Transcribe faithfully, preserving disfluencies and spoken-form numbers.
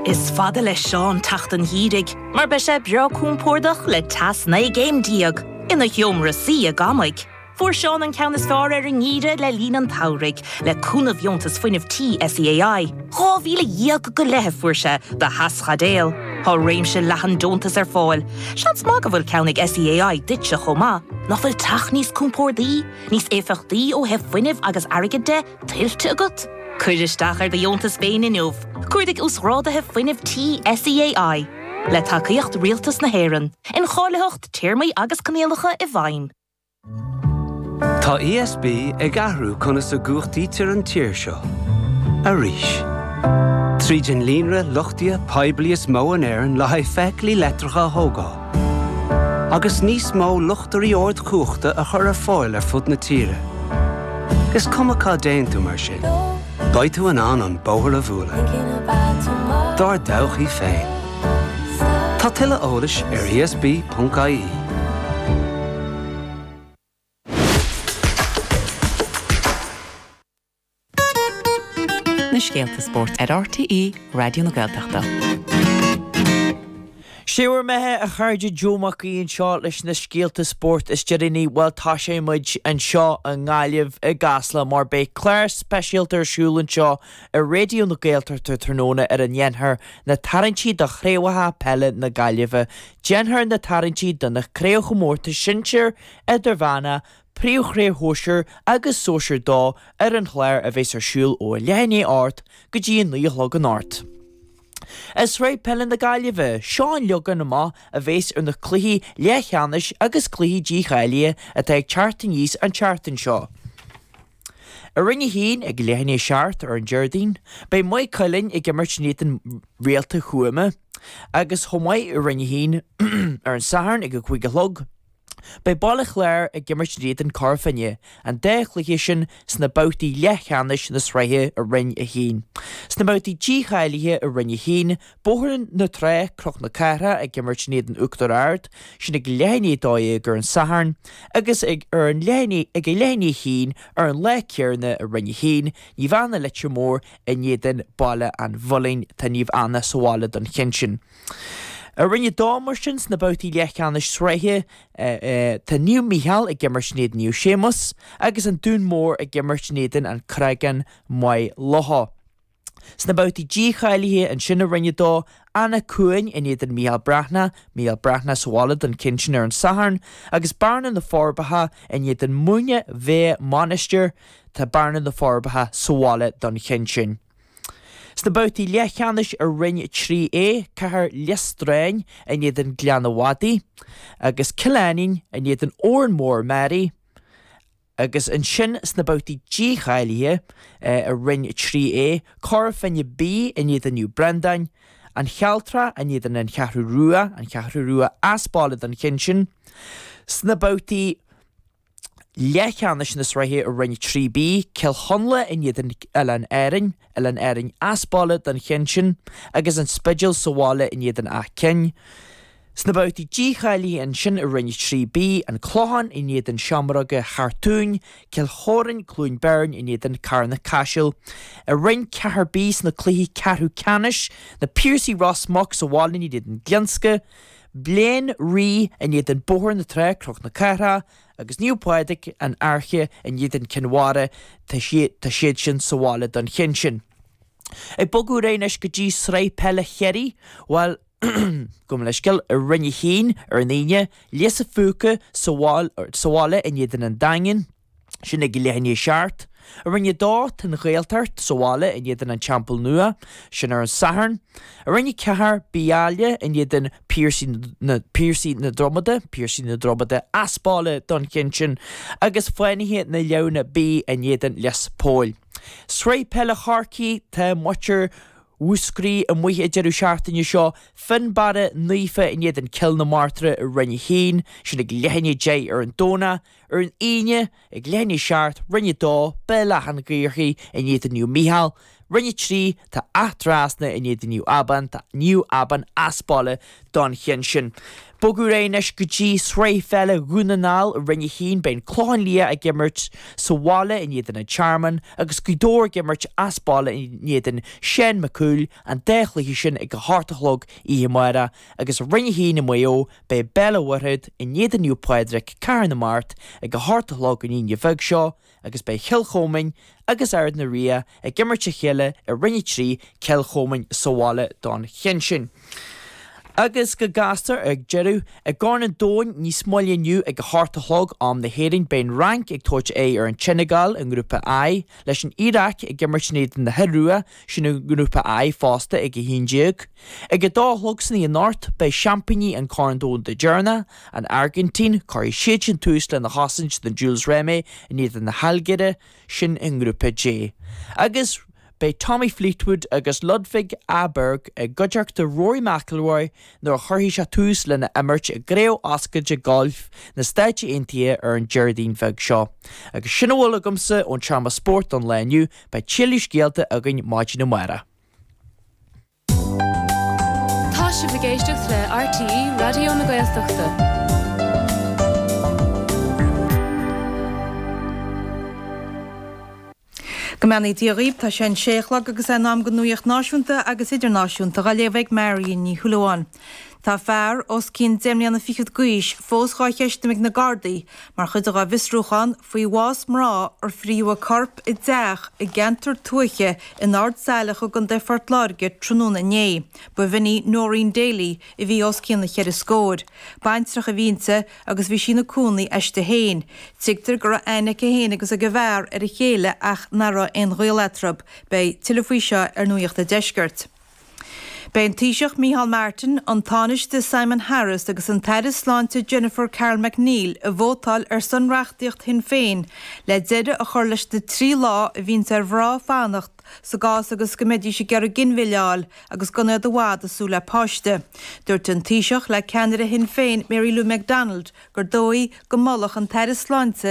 Is fada le Seán teacht an gheimhridh, mar beidh sé breá compordach le teas naoi gcéim déag ina sheomra suí i gCamaigh. Fuair Seán an ceann is fearr ar an ngeimhreadh le linn an tsamhraidh, le cúnamh dheontas fuinnimh tí SEAI. Dhá mhíle dhéag go leith a fuair sé do theaschaidéal. Tá réimse leathan deontas ar fáil. Seans maith go bhfuil ceann ag SEAI duitse chomh maith, nach bhfuil teach níos compordaí, níos éifeachtaí ó thaobh fuinnimh agus airgid de tuillte agat? Cuir isteach ar do dheontas féin inniu. Cuardaigh uasghráduithe fuinnimh tí SEAI. Le tacaíocht Rialtas na hÉireann, incháilitheacht, téarmaí agus coinníollacha i bhfeidhm. Tá ESB ag athrú conas a chumhachtaítear an tír seo. Arís. Tríd an líonra luchtaithe poiblí is mó in Éirinn le haghaidh feithiclí leictreacha a thógáil. Agus níos mó luchtairí ardchumhachta a chur ar fáil ar fud na tíre. Is cuma cá dtéann tú mar sin. Beidh tú in ann an bóthar a bhualadh. Dár dtodhchaí féin. Tá tuilleadh eolais ar ESB.ie. Na scéalta spóirt ar RTÉ Raidió na Gaeltachta. Sé bhur mbeatha a chairde Joe Mac Aoidh anseo leis na scéalta spóirt is deireanaí bhuel tá sé muid anseo i nGaillimh i gCasla mar beidh clár speisialta ar siúl anseo ar Raidió na Gaeltachta tráthnóna ar a ndéanfar na tarraingtí do chraobhacha peile na Gaillimhe. Déanfar na tarraingtí do na craobhchomórtais sinsir, idirmheánach, Príomhchraobh Shóisir agus Sóisir dó ar an chlár a bheas ar siúl ó a leath i ndiaidh a hocht go dtí a naoi a chlog anocht. I Sraith Peile na Gaillimhe, seo an leagan amach a bheas ar na cluichí leathcheannais agus cluichí dícháilithe atá ag teacht aníos an tseachtain seo. I Roinn a haon ag leath i ndiaidh a seacht ar an Déardaoin, beidh Maigh Cuilinn ag imirt in éadan Réalta Thuama agus chomh maith i Roinn a haon ar an Satharn ag a cúig a chlog, Beidh Baile Chláir ag imirt in éadan Cora Finne, an dá chluiche sin sna babhtaí leathcheannais na sraithe i Roinn a haon. Sna babhtaí dícháilithe i Roinn a haon, Bóthar na Trá, Cnoc na Cathrach ag imirt in éadan Uachtar Ard, sin ag leath i ndiaidh a dó dhéag ar an Satharn, agus ag ar an leath ag a leath i ndiaidh a haon ar an lá céanna i Roinn a haon, Naomh Anna Leitir Móir in éadan Baile an Mhuilinn. Tá Naomh Anna sa bhaile don cheann sin. I Roinn a dó mar sin sna babhtaí leathcheannais sraithe tá Naomh Mícheál ag imirt in éadan Naomh Séamus agus an Dún Mór ag imirt in éadan An Creagán Maigh Locha. Sna babhtaí dícháilithe ansin i Roinn a dó, Anach Cuain in éadan Mícheál Breathnach, Mícheál Breathnach sa bhaile don cheann sin ar an Satharn, agus Bearna na Forbacha in éadan Muine Mheá Mainistir, tá Bearna na Forbacha sa bhaile don cheann sin. Sna babhtaí leathcheannais i Roinn trí A, Cathair Lios Dráin in éadan Gleann an Mhadaidh agus Cill Ainnín in éadan Órán Mór Meáraí agus ansin sna babhtaí dícháilithe i Roinn trí A, Cora Finne B in éadan Naomh Breandáin, An Chealtrach in éadan An Cheathrú Rua, An Cheathrú Rua as baile don cheann sin. Sna babhtaí. Leathcheannais na sraithe i Roinn trí B, Cill Chonla in éadan Oileáin Árainn, Oileáin Árainn as baile don cheann sin, agus An Spidéal sa bhaile in éadan Áth Cinn. Sna babhtaí dícháilithe ansin i Roinn trí B, An Clochán in éadan Seamróga Chartúin, Cill Chóráin, Cluain Bheirn in éadan Carna Caiseal. I Roinn ceathair B sna cluichí ceathrú ceannais, Na Piarsaigh Ros Muc sa bhaile in éadan Glionsca, Bleán Rí in éadan Bóthar na Trá, Cnoc na Cathrach, agus Naomh Pádraig, An Fhairche, in éadan Cinn Mhara, tá siad sin sa bhaile don cheann sin. Ag bogadh ar aghaidh anois go dtí Sraith Peile Chiarraí, bhuel, gabh mo leithscéal, i Roinn a hAon ar an Aoine, Lios a' Phúca sa bhaile in éadan an Daingin, sin ag leath i ndiaidh a seacht. I Roinn a Dó, tá an Ghaeltacht sa bhaile in éadan an Teampaill Nua, sin ar an Satharn. I Roinn a Ceathair, Beaile in éadan Piarsaigh na Piarsaigh na Dromada, Piarsaigh na Dromada as baile don cheann sin, agus Fánaithe na Leamhna B in éadan Lios Póil. Sraith Peile Chorcaí, tá muintir Mhúscraí amuigh an deireadh seachtaine seo, Fionnbarra Naofa in éadan Cill na Martra i Roinn a hAon, sin ag leath i ndiaidh a deich ar an Domhnach. Ar an Aoine, ag leath i ndiaidh a seacht, Roinn a Dó, Béal Átha an Ghaorthaidh in éadan Naomh Mícheál. Roinn a Trí, tá Áth Trasna in éadan Naomh Abán, tá Naomh Abán as baile don cheann sin. Bogadh ar aghaidh anois go dtí Sraith Pheile Dhún na nGall i Roinn a hAon, beidh an Clochán Liath ag imirt sa bhaile in éadan an Tearmann agus Gaoth Dobhair ag imirt as baile in éadan Seán Mac Cumhaill, an dá chluiche sin ag a hocht a chlog oíche amárach, agus i Roinn a hAon i Maigh Eo beidh Béal an Mhuirthead in éadan Naomh Pádraig, Cathair na Mart ag a hocht a chlog an Aoine bheag seo agus beidh Cill Chomáin agus Ard na Ria ag imirt a chéile i Roinn a Trí, Cill Chomáin sa bhaile don cheann sin. Agus go gasta ag deireadh, i gCorn an Domhain níos moille inniu ag a hocht a chlog am na hÉireann beidh an Fhrainc ag tabhairt aghaidh ar an tSeineagáil i nGrúpa I, leis an Iaráic ag imirt in éadan na hIorua, sin i nGrúpa I fosta ag a haon déag. Ag a dó a chlog san oíche anocht beidh seaimpíní an Chorn Domhanda deireanach, an Airgintín, cuirfidh siad sin tús lena chosaint don Jules Rimet in éadan na hAilgéire, sin i nGrúpa J. Agus. Beidh Tommy Fleetwood agus Ludvig Åberg i gcuideachta Rory McIlroy nuair a chuirfidh sé tús lena imirt i gCraobh Oscailte Gailf na Stáit Aontaithe ar an Déardaoin bheag seo. Agus sin a bhfuil agamsa ón tseomra spóirt don lá inniu, beidh tuilleadh scéalta againn maidin amárach. Tá sibh ag éisteacht le RTÉ Raidió na Gaeltachta. Go mbeannaí Dia dhaoibh, tá sé an sé a chlog agus é in am don nuaíocht náisiúnta agus idirnáisiúnta dhá léamh ag Marion Ní Shúilleabháin. Tá fear os cionn deich mbliana fichead d'aois fós dhá cheistiú ag na Gardaí mar chuid dhá bhfiosrúchán faoi bhás mná ar frítheadh a corp i dteach i gceantar tuaithe in Ard Saileach i gContae Phort Láirge tráthnóna inné. Ba bh'in í Noreen Daly a bhí os cionn na cheithre scór. Baintreach a bhí inti agus bhí sí ina cónaí aisti féin. Tuigtear go raibh aithne aici féin agus ag a bhfear ar a chéile ach nach raibh aon ghaol eatarthu. Beidh tuilleadh faoi seo ar Nuacht an Deiscirt. Beidh an Taoiseach Micheál Martin, an Tánaiste Simon Harris agus an tAire Sláinte Jennifer Carroll MacNeill ag vótáil ar son reachtaíocht Shinn Féin le deireadh a chur leis na trí lá a bhíonns ar mhná fanacht sa gcás agus go mbeidís ag iarraidh ginmhilleadh a fháil agus gan iad i bhfad ag súil le páiste. Dúirt an Taoiseach le ceannaire Shinn Féin Mary Lou McDonald gur dóigh go molfadh an tAire Sláinte